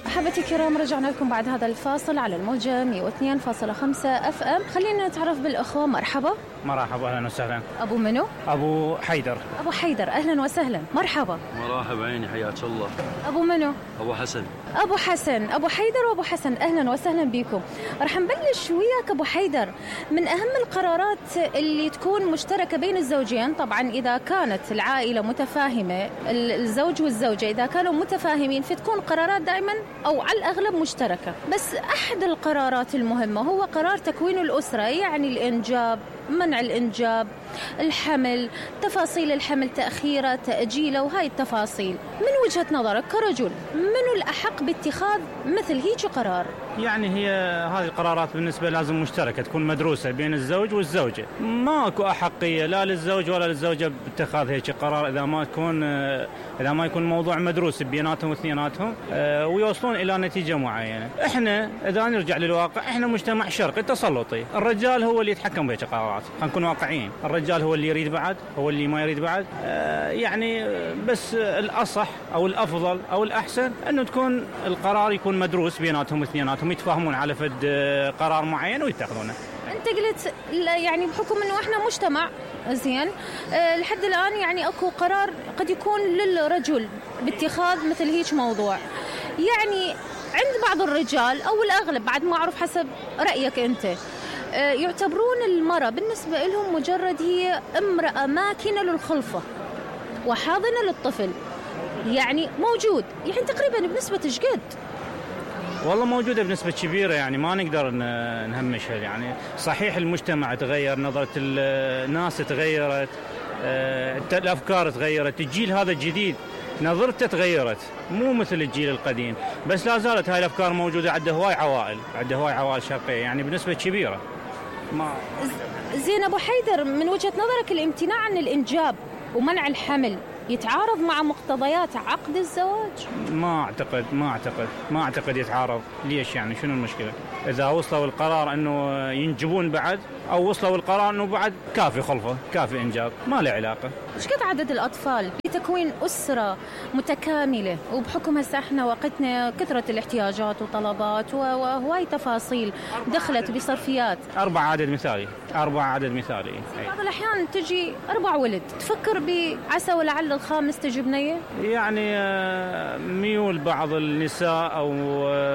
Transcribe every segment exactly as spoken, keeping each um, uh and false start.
أحبتي الكرام، رجعنا لكم بعد هذا الفاصل على الموجة مئة واثنين فاصلة خمسة اف ام. خلينا نتعرف بالأخوة. مرحبا. مرحبا، أهلا وسهلا. أبو منو؟ أبو حيدر. أبو حيدر، أهلا وسهلا، مرحبا. مرحبا عيني، حياك الله. أبو منو؟ أبو حسن. أبو حسن، أبو حيدر وأبو حسن، أهلا وسهلا بكم. رح نبلش وياك أبو حيدر. من أهم القرارات اللي تكون مشتركة بين الزوجين، طبعا إذا كانت العائلة متفاهمة، الزوج والزوجة إذا كانوا متفاهمين فتكون قرارات دائما أو على الأغلب مشتركة. بس أحد القرارات المهمة هو قرار تكوين الأسرة، يعني الإنجاب، منع الإنجاب، الحمل، تفاصيل الحمل، تأخيره، تأجيله، وهاي التفاصيل. من وجهة نظرك كرجل، منو الأحق باتخاذ مثل هيك قرار؟ يعني هي هذه القرارات بالنسبة لازم مشتركة، تكون مدروسة بين الزوج والزوجة. ماكو أحقية لا للزوج ولا للزوجة باتخاذ هيك قرار إذا ما تكون إذا ما يكون موضوع مدروس بيناتهم واثنيناتهم ويوصلون إلى نتيجة معينة. إحنا إذا نرجع للواقع، إحنا مجتمع شرقي تسلطي، الرجال هو اللي يتحكم بهيك قرارات. خلينا نكون واقعيين، الرجال هو اللي يريد بعد، هو اللي ما يريد بعد. يعني بس الأصح أو الأفضل أو الأحسن أنه تكون القرار يكون مدروس بيناتهم واثنيناتهم، يتفاهمون على فد قرار معين ويتخذونه. أنت قلت يعني بحكم أنه إحنا مجتمع زين أه لحد الآن، يعني أكو قرار قد يكون للرجل باتخاذ مثل هيك موضوع. يعني عند بعض الرجال أو الأغلب، بعد ما أعرف حسب رأيك أنت، أه يعتبرون المرأة بالنسبة لهم مجرد هي امرأة ماكنة للخلفة وحاضنة للطفل. يعني موجود يعني تقريبا بنسبة ايش قد؟ والله موجودة بنسبة كبيرة، يعني ما نقدر نهمشها. يعني صحيح المجتمع تغير، نظرة الناس تغيرت، الأفكار تغيرت، الجيل هذا الجديد نظرته تغيرت، مو مثل الجيل القديم، بس لا زالت هاي الأفكار موجودة عند هواي عوائل، عند هواي عوائل شرقية، يعني بنسبة كبيرة. ما زين أبو حيدر، من وجهة نظرك الامتناع عن الإنجاب ومنع الحمل يتعارض مع مقتضيات عقد الزواج؟ ما أعتقد ما أعتقد ما أعتقد يتعارض. ليش؟ يعني شنو المشكلة؟ إذا وصلوا القرار أنه ينجبون بعد، أو وصلوا القرار أنه بعد كافي خلفة، كافي إنجاب، ما له علاقة. إيش قد عدد الأطفال لتكوين أسرة متكاملة؟ وبحكم هسه إحنا وقتنا كثرة الاحتياجات وطلبات وهواي تفاصيل دخلت بصرفيات. أربع عدد مثالي، أربع عدد مثالي. بعض الأحيان تجي أربع ولد، تفكر بعسى ولعل الخامس تجي بنية؟ يعني ميول بعض النساء أو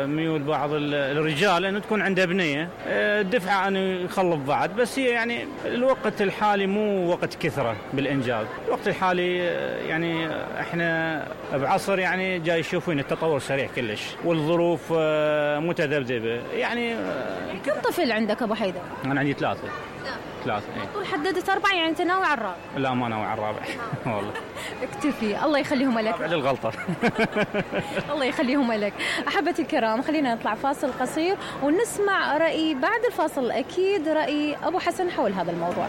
ميول بعض الرجال أنه تكون عنده بنية، دفعة أنه يخلف بعد. بس هي يعني الوقت الحالي مو وقت كثرة بالإنجاب. الوقت الحالي يعني إحنا بعصر يعني جاي يشوفون التطور سريع كلش، والظروف متذبذبة. يعني كم طفل عندك أبو حيدر؟ أنا عندي ثلاثة. ثلاثة. طول حددت أربعة، يعني أنت ناوي على الرابع؟ لا، ما ناوي على الرابع. والله اكتفي، الله يخليهم لك. بعد الغلطة. الله يخليهم لك. أحبتي الكرام، خلينا نطلع فاصل قصير ونسمع رأي بعد الفاصل أكيد رأي أبو حسن حول هذا الموضوع.